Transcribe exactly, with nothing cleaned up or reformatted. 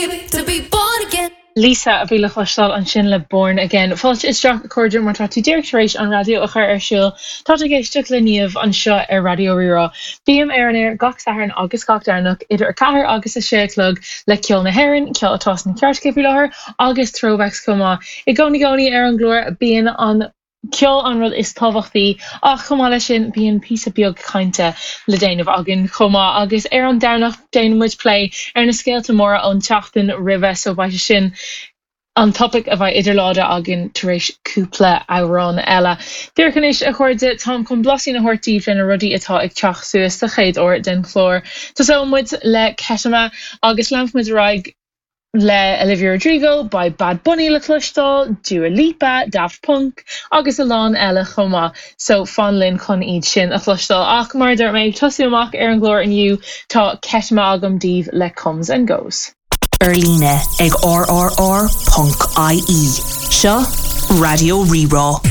To be born again. Lisa a bhí le cloisteáil ansin le Born Again. Fáilte isteach a chairde má tá tú díreach tar éis an raidió a chur ar siúl Tá ag éisteacht le Niamh anseo ar Raidió Rí-Rá. Bím ar an aer gach Satharn agus gach Domhnach idir a ceathair agus a sé a chlog le ceol na hÉireann, ceol atá sna cairteacha faoi láthair agus throwbacks chomh maith. I gcónaí gcónaí ar an gclár bíonn an ceol an rud is tábhachtaí ach chomh maith leis sin bíonn píosa beag cainte le déanamh againn chomh maith agus ar an Domhnach déanaimid plé ar na scéalta móra ón tseachtain roimhe so beidh sin an topic a bheidh idir lámha againn tar éis cúpla amhrán eile. Díreach anois a chairde táim chun blaisín a thabhairt daoibh le na rudaí atá ag teacht suas sa chéad uair den chlár. Tosóidh muid le Ketama agus leanfaimid ar aghaidh le Olivia Rodrigo, beidh Bad Bunny le cloisteáil, Dua Lipa, Daft Punk agus a lán eile chomh maith, so fan linn chun iad sin a chloisteáil ach mar dúirt mé tosú amach ar an gclár inniu tá Ketama agam daoibh le Comes and Goes. Ar líne ag rrr.ie. Seo Raidió Rí-Rá.